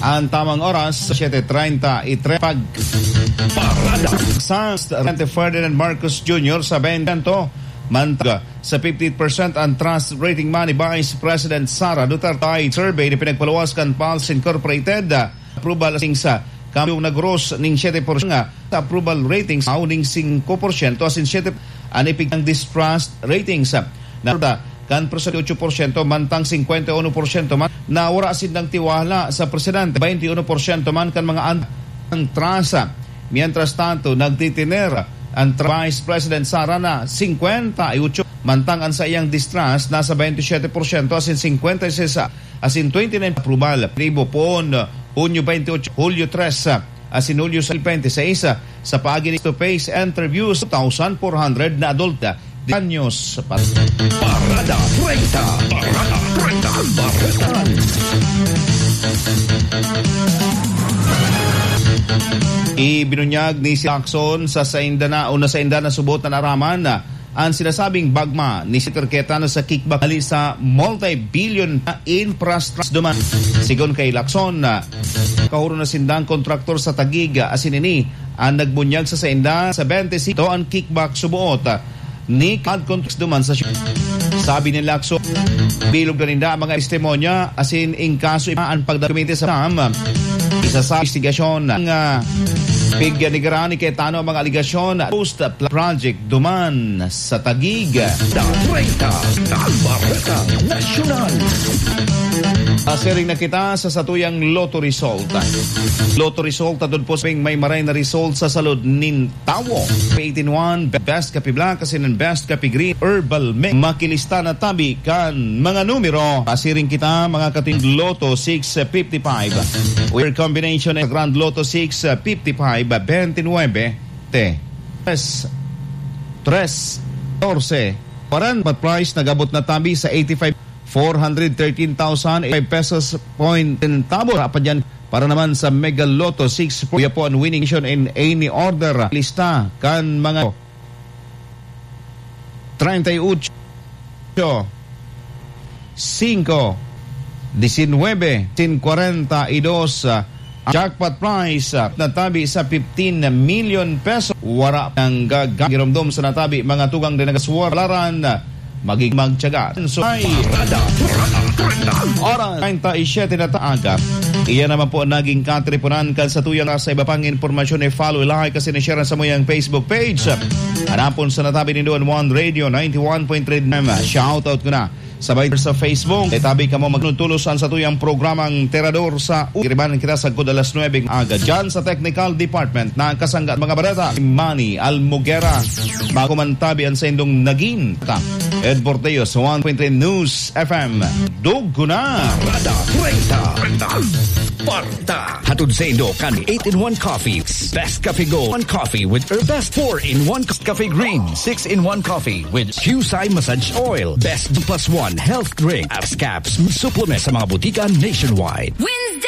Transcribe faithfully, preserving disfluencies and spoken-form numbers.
Ang tamang oras, siete treinta y tres. Pag Parada. Sa Presidente Ferdinand Marcos Junior sa twenty percent, mantang sa fifty-eight percent ang trust rating man ni Vice President Sara Duterte. Survey na pinagpaluwas kan Pulse Incorporated, approval sing sa kamiyong nagros ning siete porsyento sa approval ratings, aw ning singko porsyento asin siete an epekto ng distrust ratings. Na kan treinta y ocho porsyento mantang cincuenta y uno porsyento man na wala sindang tiwala sa presidente, twenty y uno porsyento man kan mga an-, ang trust. Mientras tanto, nagtitiner ang tra-, Vice President Sara na cincuenta y ocho, mantang ang saiyang distrust nasa twenty y siete porsyento asin cincuenta y seis asin twenty-nine approval. Tribo poon, Hunyo twenty-ocho, Hulyo tres, asin Hulyo twenty-six, sa paagi ni face-to-face interviews, two thousand four hundred na adult anyos. Parada treinta. Parada treinta. Bareta. Ibinunyag ni si Lacson sa sainda na o na sainda na subot na naaraman ang sinasabing bagma ni Senator Cayetano sa kickback hali sa multi-billion na infrastructure duman. Sigon kay Lacson, kahuro na sindang kontraktor sa Taguig, asin ini ang nagbunyag sa sainda sa twenty-six an kickback suboot ni Cad Context duman sa siyudad. Sabi ni Lacson, bilog na ninda ang mga testimonya, asin in kaso ipa ang pagdokumento sa SAM. Isa sa investigasyon ng, ah, pignigaran ni Cayetano ang mga alegasyon post project duman sa Taguig. Treinta, ang Bareta Nasyonal. Asiring na kita sa satuyang Lotto Result. Lotto Result, atod po sa may maray na result sa salud nin tawo. Eighteen one, Best Kape Black, asin ang Best Kape Green, Herbal Mix. Makilista na tabi kan mga numero. Pasiring kita, mga kating Lotto six fifty-five. Where combination ng Grand Lotto six fifty-five, twenty-nuebe, te, tres, tres, catorce, kwarenta prize, nag-abot na tabi sa eighty-five, four hundred thirteen thousand five pesos point centavo. Apat yan para naman sa Mega Lotto six, kuya po ang winning nation in any order. Lista kan mga treinta y ocho, cinco, diecinueve, sin cuarenta y dos, ah, jackpot prize, ah, natabi sa fifteen million peso. Wara nang gaga-, giromdom sa natabi, mga tugang din nagaswar. Laran, magig magtiyaga. So, ay, Parada, Parada, Parada. Oras, treinta y siete na ta aga. Iyan naman po naging katripunan kan sa tuyang sa iba pang impormasyon, i-follow, i-like, kasi ni-share sa muyang Facebook page. Hanapon sa natabi nindo an One Radio ninety-one point three F M. Shoutout ko na. Sabay sa Facebook, itabi kamo magnutulos an sa tuyang programang Tirador sa U. Iribanan kita sa gud alas nuebe ng aga. Dyan sa technical department, nakasangga mga barata, Manny Almugera. Bago man tabi an sa indong naging ta, Ed Porteo sa one point three News F M. Dugo na! Parada treinta. Parada. Hatod sa indo kan eight-in-one Coffee. Best Coffee Go. One Coffee with Herbal Best four-in-one Coffee Green. Six-in-one Coffee with Qsai Massage Oil. Best Plus One Health Drink. Apps, caps, supplement sa mga butika nationwide. Wednesday!